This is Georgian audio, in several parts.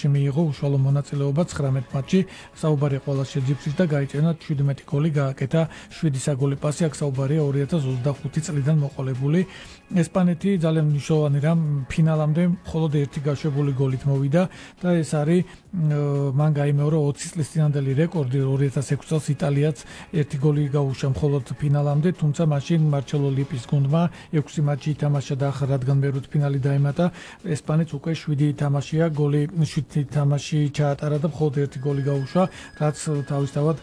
მიიღო უშუალო მონაწილეობა 19 მატჩში, საუბარი ყველა შეძიფრის და გაიწენა 17 გოლი, გააკეთა 7 საგოლე პასი, აქ საუბარია 2025 წლიდან მოყოლებული. ესპანეთი ძალიან მნიშვნელოვანი რამ ფინალამდე მხოლოდ ერთი გაშვებული გოლით მოვიდა და ეს არის მან გაიმეორა 20 წლის წინანდელი რეკორდი 2006 წელს იტალიაც ერთი გოლი გაუშვა მხოლოდ ფინალამდე, თუმცა მაშინ მარჩელო ლიპის გუნდმა 6 მატჩი ითამაშა და ახლა რადგან მერვედფინალი დაემატა, ესპანეთს უკვე 7 თამაშია გოლი 7 თამაში ჩაატარა და მხოლოდ ერთი გოლი გაუშვა, რაც თავისთავად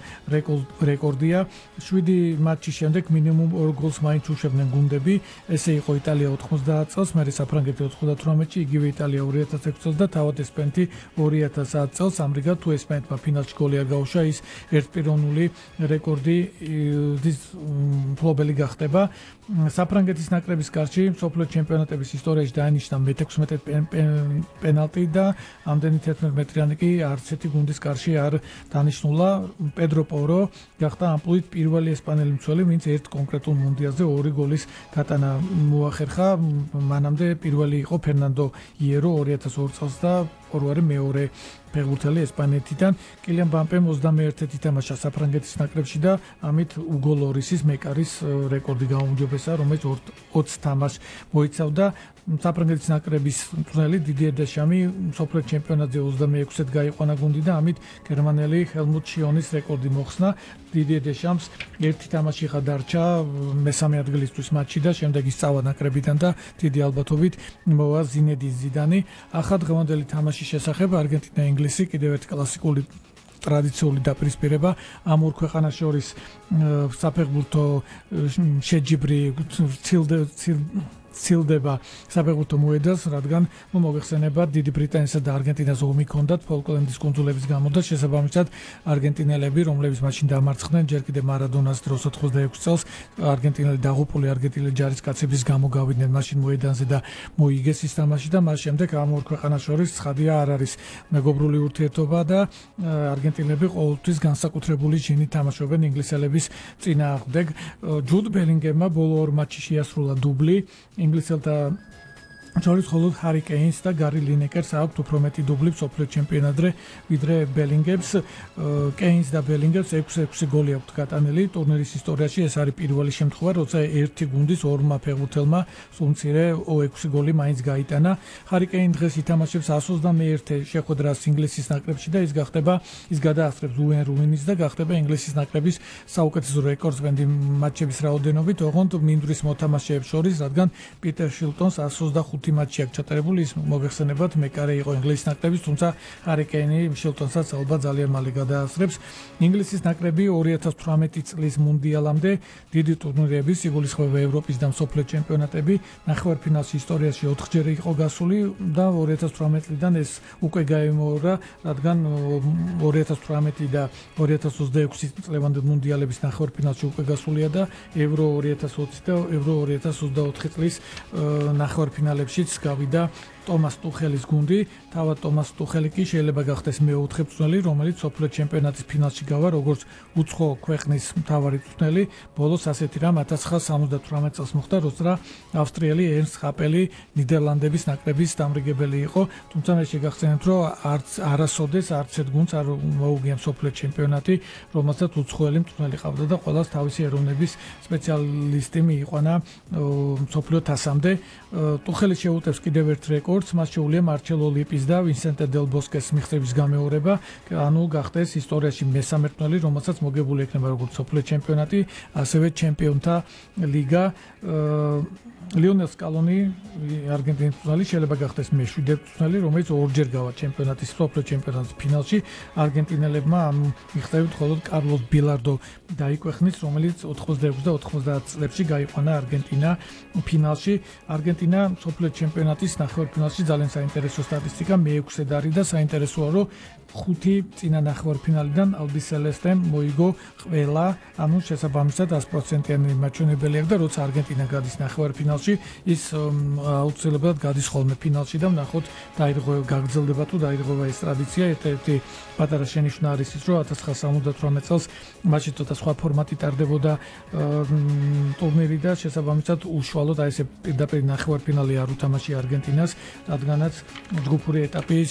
რეკორდია. 7 მატჩის შემდეგ მინიმუმ 2 გოლს მაინც უშვებდნენ გუნდები. ესე იყო იტალია 90 წელს, მერე საფრანგეთი 98-ში, იგივე იტალია 2006 წელს და თავად ესპანეთი 2010 წელს. ამრიგად თუ ესპანეთმა ფინალში გოლი არ გაუშვა, ის ერთპიროვნული რეკორდის მფლობელი გახდება. საფრანგეთის ნაკრების გარშემო მსოფლიო ჩემპიონატების ისტორიაში დაინიშნა მე-16 პენალტი და ამდენი 11 მეტრიანი კი არც ერთი გუნდის კარში არ დანიშნულა. პედრო პორო გახდა ამპლუით პირველი ესპანელი მცველი, ვინც ერთ კონკრეტულ მუნდიალზე 2 გოლის გატანა მოახერხა. მანამდე პირველი იყო ფერნანდო იერო 2002 წელს და ორივე მეორე ფეხბურთელი ესპანეთიდან. კილიან მბაპემ 21-ით ითამაშა საფრანგეთის ნაკრებში და ამით უგო ლორისის მეკარის რეკორდი გაუმჯობესა, რომელიც 20 თამაშს მოიცავდა. საფრანგეთის ნაკრების მწვრთნელი დიდიე დეშამი მსოფლიო ჩემპიონატზე 26-ით გაიყვანა გუნდი და ამით გერმანელი ჰელმუტ შიონის რეკორდი მოხსნა. დიდიე დეშამს ერთი თამაში ხა დარჩა მესამე ადგილისთვის მატჩში და შემდეგ ისწავა ნაკრებიდან და დიდი ალბათობით მოვა ზინედინ ზიდანი. ახლა დღევანდელი თამაშის შესახებ არგენტინა ინგლისი კიდევ ერთი კლასიკური ტრადიციული დაპირისპირება ამ ორ ქვეყანას შორის საფეხბურთო შეჯიბრი ცილდება საფეხბურთო მოედანს, რადგან მოიხსენება დიდი ბრიტანეთსა და არგენტინას ომი ჰქონდათ ფოლკლენდის კუნძულების გამო და შესაბამისად არგენტინელები, რომლებიც მაშინ დამარცხდნენ ჯერ კიდევ მარადონას დროს 86 წელს, არგენტინელი დაღუპული არგენტინელი ჯარისკაცების გამო გავიდნენ მაშინ მოედანზე და მოიგეს ის თამაში და მას შემდეგ ამ ორ ქვეყანას შორის ცხადია არ არის მეგობრული ურთიერთობა და არგენტინელები ყოველთვის განსაკუთრებული ჯინით თამაშობენ ინგლისელების წინააღმდეგ. ჯუდ ბელინგემმა ბოლო 2 მატჩში შეასრულა დუბლი. ინგლისელთა შორის მხოლოდ ჰარი კეინს და გარი ლინეკერს აქვთ უფრო მეტი დუბლი მსოფლიო ჩემპიონატზე ვიდრე ბელინგემს. კეინს და ბელინგემს 6 გოლი აქვთ გატანილი ტურნირის ისტორიაში. ეს არის პირველი შემთხვევა, როცა ერთი გუნდის ორმა ფეხბურთელმა სულმცირე 6 გოლი მაინც გაიტანა. ჰარი კეინი დღეს ითამაშებს 121 შეხვედრას ინგლისის ნაკრებში და ის გადაასწრებს უეინ რუინის და გახდება ინგლისის ნაკრების საუკეთესო რეკორდსმენი მატჩების რაოდენობით, ოღონდ მინდვრის მოთამაშეებს შორის, რადგან პიტერ შილტონს 125 მატჩი აქვს ჩატარებული, ის მოიხსენებათ მეკარე იყო ინგლისის ნაკრების, თუმცა ჰარი კეინი შილტონსაც ალბათ ძალიან მალე გადაასწრებს. ინგლისის ნაკრები 2018 წლის მუნდიალამდე დიდი ტურნირების, იგულისხმება ევროპის და მსოფლიო ჩემპიონატები, ნახევარფინალში ისტორიაში 4-ჯერ იყო გასული და 2018 წლიდან ეს უკვე გაიმეორა, რადგან 2018 და 2026 წლევანდელ მუნდიალების ნახევარფინალში უკვე გასულია და ევრო 2020 და ევრო 2024 წლის ნახევარფინალებში გავიდა ტომას ტუხელის გუნდი. თავად ტომას ტუხელი კი შეიძლება გახდეს მეოთხე მწვრთნელი, რომელიც მსოფლიო ჩემპიონატის ფინალში გავა, როგორც უცხო ქვეყნის მთავარი მწვრთნელი. ბოლოს ასეთი რამ 1978 წელს მოხდა, როცა ავსტრიელი ერნსტ ჰაპელი ნიდერლანდების ნაკრების დამრიგებელი იყო, თუმცა მე შეგახსენებთ, რომ არასოდეს არც ერთ გუნდს არ მოუგია მსოფლიო ჩემპიონატი, რომელსაც უცხოელი მწვრთნელი ყავდა და ყველას თავისი ეროვნების სპეციალისტი მიიყვანა მსოფლიო თასამდე. ტუხელი შეუტევს კიდევ ერთ რეკორდს, მას შეუძლია მარჩელო ლიპის და ვინსენტე დელ ბოსკეს მიღწევის გამეორება, ანუ გახდეს ისტორიაში მესამე მწვრთნელი, რომელსაც მოგებული ექნება როგორც მსოფლიო ჩემპიონატი, ასევე ჩემპიონთა ლიგა. ლიონელ სკალონი არგენტინის მწვრთნელი შეიძლება გახდეს მე-7 მწვრთნელი, რომელიც ორჯერ გავა ჩემპიონატის მსოფლიო ჩემპიონატის ფინალში. არგენტინელებმა ამ მიღწევით მხოლოდ კარლოს ბილარდო დაიკვეხნეს, რომელიც 86 და 90 წლებში გაიყვანა არგენტინა ფინალში. არგენტინა მსოფლიო ჩემპიონატის ნახევარფინალში ძალიან საინტერესო სტატისტიკა მე-6-ე არის და საინტერესოა, რომ 5 წინა ნახევარფინალიდან ალბისელესტემ მოიგო ყველა, ანუ შესაბამისად 100%-იანი მაჩვენებელი აქვს და როცა არგენტინა გადის ნახევარფინალში, ის აუცილებლად გადის ხოლმე ფინალში და ვნახოთ გაგრძელდება თუ დაირღვევა ეს ტრადიცია. ერთ-ერთი პატარა შენიშვნა არის ის, რომ 1978 წელს მაშინ ცოტა სხვა ფორმატი ტარდებოდა ტურნირი და შესაბამისად უშუალოდ აი ესე პირდაპირ ნახევარფინალი არ უთამაშია არგენტინას, რადგანაც ჯგუფური ეტაპის